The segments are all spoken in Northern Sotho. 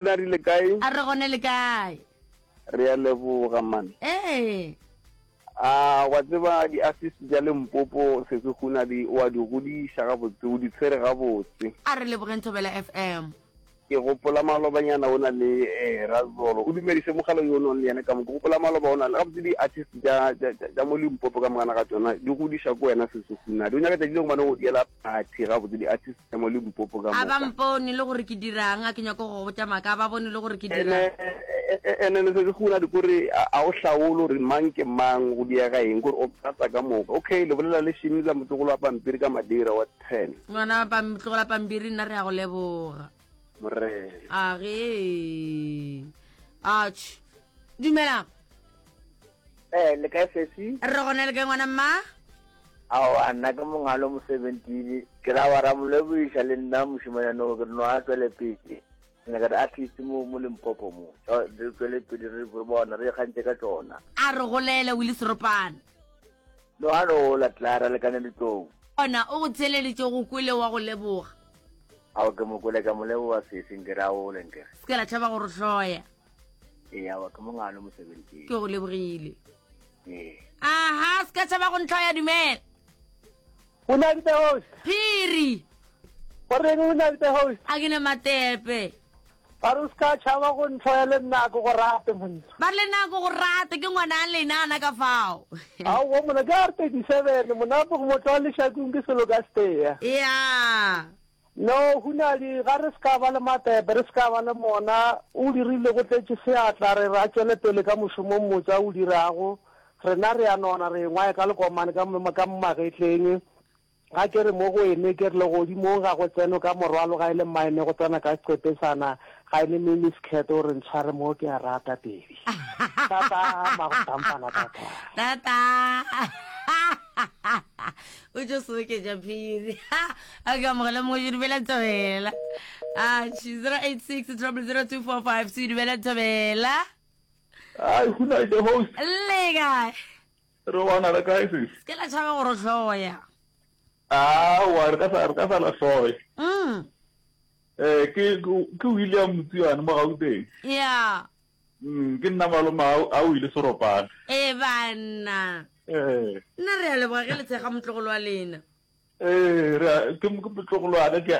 Na rile kae? A re gone le kae? Re a leboga man. Ee. A wa tseba di artist tša Limpopo sesi Hunadi o a di godiša gabotse o di tshwere gabotse. A re lebogeng Thobela FM. Ke gopola malobanyana o na le eh, Razolo o dumedise mogala yo o nong le yena ka mo ke gopola maloba o na le gabotse di artist tša tša tša mo Limpopo ka mogana ga tšona di godiša ko wena sesi Hunadi o nyaka tšatši le gomane go diela party gabotse di artist tša mo Limpopo ka A ba moka. mpone le gore ke dirang, a ke nyako go go botša maaka, a ba bone le gore ke dirang. Ene ene se se gona di kore a o hlaole gore mang ke mang go diega eng kore o tlatsa ka moka. Okay le bolela le Shimza motlogolo wa pampiri ka Madeira wa 10. Ngwana wa pam, motlogolo wa pampiri nna re a go leboga. Morena. A ge. Atjhe. Dumelang. Eh, le kae sesi? Re gona le kae ngwana mma? Aowa, nna ke mongalo mosebentini. Ke ra wa ra mo lebogiša le nna mošemanyane o ke re no a tšwele pele. Ke nyaka di-artist mo mo Limpopo mo. Re tšwele pele re re bona re ikgantše ka tšona. A re golele Willie Seropane. No a no gola Clara lekane ditlou. Ona o go theeleditše go kwele wa go leboga. Ao ke mo kwele ka mo leboga sesi nke re a gole nke re. Se ke la tšhaba go re hloya. Ee aowa ke mongalo mosebentini. Ke go lebogile. Aha, se ka tšhaba go ntlhoya dumela. O na le the host. Phiri. O reng o na le the host? A ke ne matepe. Ba re o se ka tšhaba go ntlhoya le nna ke go rate monna. Ba re le nna ke go rate ke ngwana a lena ana ka fao. Aowa monna ke R 37 monna go mo tloga lešakong ke selo ka steya. Yeah. No, Hunadi, ga re se ka ba le matepe, re se ka ba le mona. O dirile go tletše seatla, re re a tšwele pele ka mošomo o mmotse a o dirago. Rena re a nona, re engwae ka lekomane ka mo, ka mo magetleng. Ga ke re mo go ene, ke re legodimong ga go tsenwe ka morwalo, ga e le mmaene go tsena ka seqepesana, ga e le mini skirt, o re ntshware mo ke a rata, baby. Tata, mago-tampana, tata. Tata. O tšo soketša phiri. A ke amogele mongwe dumela Thobela. A 086 0002452 dumela Thobela. Ai, who night the host? Le kae? Re wana le kae sis? Se ke la tšhaba gore hloya. Aowa, re ka sa re ka sa la hloya. Mm. Eh, ke ke William Motsiane mo Gauteng. Yeah. Mm, ke nna malome a o ile seropane. E banna. Eh. Nna re a leboga ge le tshega motlogolo wa lena. Ee, re a, ke ke motlogolo wa ka ke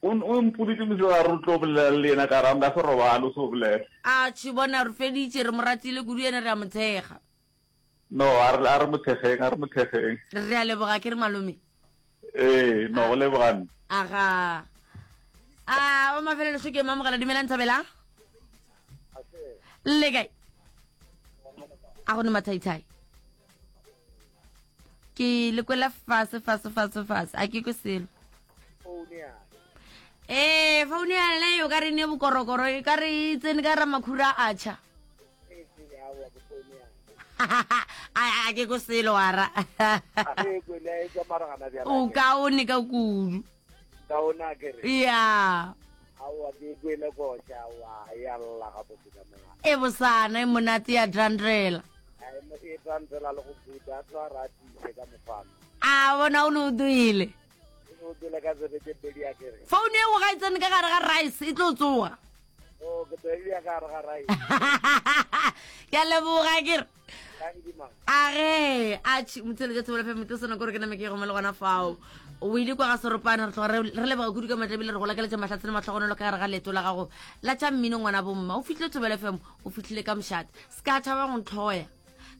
o o mpoditse mosegare o tlo bolela le yena ka ra nka se robale o se o bolela. A tšhi bona re feditše re mo ratile kudu yena re a mo thekga. No, a re a re mo thekgeng, a re mo thekgeng. Re a leboga ke re malome. Ee, no go leboga nna. Aga. A wa mafelelo šo ke mamogela dumelang Thabela. Le kae? A go ne mathaithai. Ke le kwela fase fase fase fase a ke kwe selo. Ee, founu ya lena o ka re ne bokorokoro e ka re e tsene ka ra makhura a tšha. A ke ko selo ara. O kaone ka kudu. Ya. E bosana e monate ya drandrela. A bona o ne o duile. Founu eo ga e tsene ka gare ga rice e tlo tsoga. Oh, ke tlo e ka gare ga rice. Ke a leboga ke re. A ge a tšhi motsele ja thobela fm sona kore ke name ke gome le gona fao o ile kwa ga seropane re tloga re leboga kudu ka matla ebile re go lakeletša mahlatse le matlhogonolo ka gare ga leeto la gago la tša mmino ngwana bomma o fihlile thobela fm o fihlile ka mošate se ka tšhaba go ntlhoya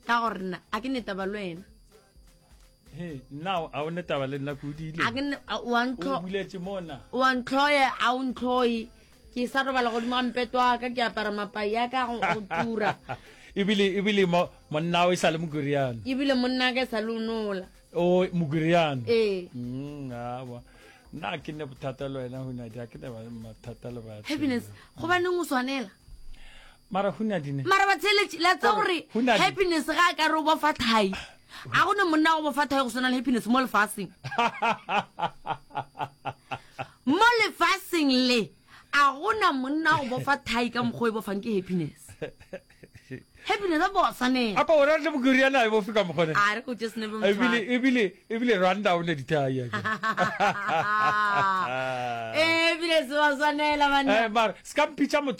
ka gore nna a ke ne taba le wena He, nna a o ne taba le nna ke o diile. A ke ne wa ntlho. O buletše mona. Wa ntlhoye a o ntlhoye. Ke sa robala godimo ga mpeto wa ka ke apara mapai a ka go tura. Ebile ebile mo monna o e sa le mokuriano. Ebile monna ka e sa le o nola. O mokuriano. Ee. Mm, awa. Nna ke ne bothata le wena Hunadi, a ke ne mathata le batho. Happiness, gobaneng o swanela? Mara Hunadi ne. Mara batheeletši, la tseba gore Happiness ga a ka re o bofa thai. A go ne monna go bofa thai go swana le Happiness mo lefaseng. Mo lefaseng le, a gona monna go bofa thai ka mokgwa o e bofang ke Happiness. Happiness a bosa ne. Apa o rata bokoriana e bo fika mogone. A re go tše snepe motho. Ebile ebile ebile Rwanda o ne dithai. Eh ebile se wa swanela banna. Eh mara ska mpitša motho.